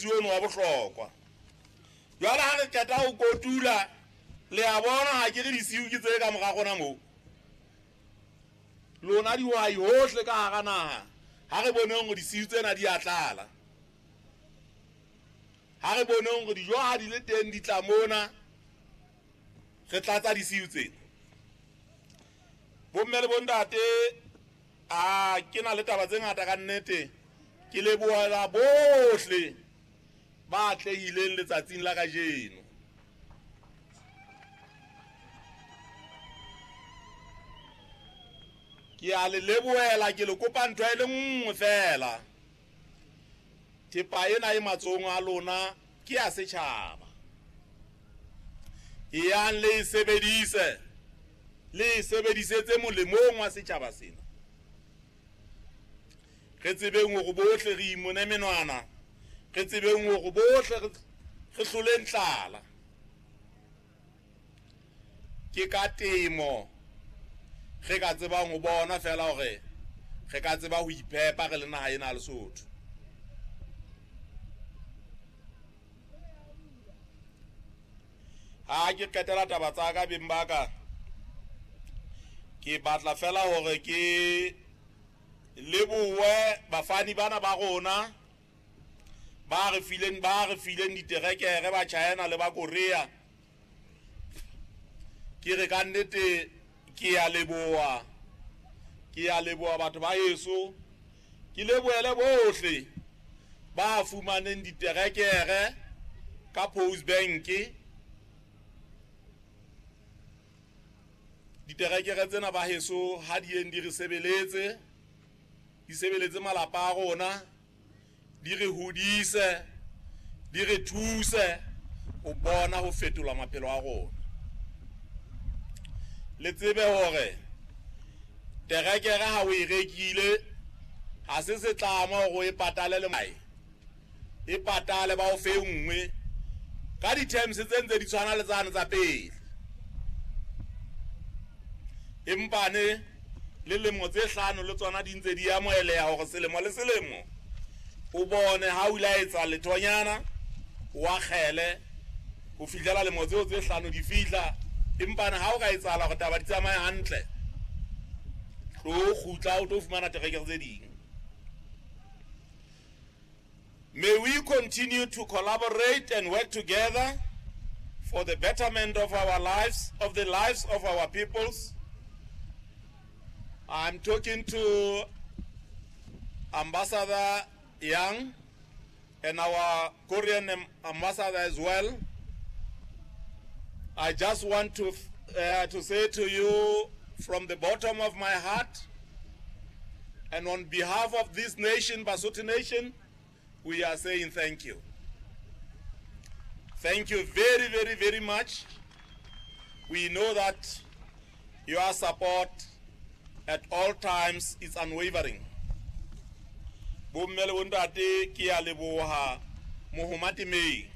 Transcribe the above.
mosebetsi ono wa bohlokwa. Jwale ha re qeta ho kotula, le a bona ha ke re disiu ke tse ka mora rona moo. Lona dihwai hohle ka hara naha, ha re boneng hore disiu tsena di a tlala. Ha re boneng hore dijo ha di le teng di tla mona, re tlatsa disiu tsena. Bomme le bontate, a ke na le taba tse ngata ka nnete. Ke lebohela bohle ba atlehileng letsatsing la kajeno. Ke a le lebohela, ke le kopa ntho e le nngwe fela. Thepa ena e matsohong a lona ke ya setjhaba. Eyang le e sebedise, le e sebedisetse molemong wa setjhaba sena. Re tsebeng hore bohle re imone menwana, re tsebeng hore bohle re hloleng tlala. Ke ka temo re ka tsebang ho bona fela hore re ka tseba ho iphepa re le naha ena ya Lesotho. Ha ke qetela taba tsa ka beng ba ka, ke batla fela hore ke lebohe bafani bana ba rona ba re fileng diterekere ba China le ba Korea. Ke re ka nnete ke a leboha, ke a leboha batho ba heso. Ke lebohele bohle ba fumaneng diterekere ka Post Bank. Diterekere tsena ba heso ha di yeng di re sebeletse, di sebeletse malapa a rona, di re hodise, di re thuse ho bona ho fetola maphelo a rona. Le tsebe hore terekere ha o e rekile ha se setlamo hore o e patale le mae, e patale ba o fe nngwe ka di-terms tse ntse di tshwana le tsane tsa pele. Empa ne le lemo tse hlano le tsona di ntse di amoheleha hore selemo le selemo o bone ha o ile a etsa lethonyana o akgele ho fihlela lemo tseo tse hlano di fihla. Empa ne ha o ka etsahala hore taba di tsamaye hantle, tlo kgutla o tlo fumana terekere tse ding. May we continue to collaborate and work together for the betterment of our lives, of the lives of our peoples. I'm talking to Ambassador Yang and our Korean ambassador as well. I just want to say to you from the bottom of my heart and on behalf of this nation, Basotho nation, we are saying thank you. Thank you very, very, very much. We know that your support at all times is unwavering. Bomme le bontate, ke a leboha mohomatemeng.